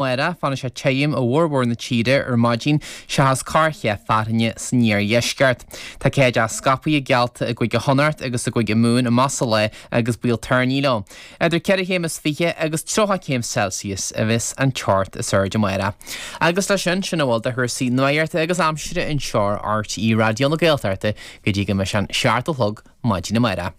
Amárach, fanfaidh sé tirim i bhformhór na tíre ar maidin seachas corrcheann fearthainne san iardheisceart. Tá céideach scaipthe geallta i gCúige Chonnacht agus i gCúige Mumhan amach sa lá agus baol toirní leo. Idir 4 chéim is 20 agus 30 céim Celsius a bheas an teocht is airde amárach. Agus leis sin, sin a bhfuil de chúrsaí nuachta agus aimsire anseo ar RTÉ Raidió na Gaeltachta go dtí go mbeidh sé an 7 a chlog maidin amárach.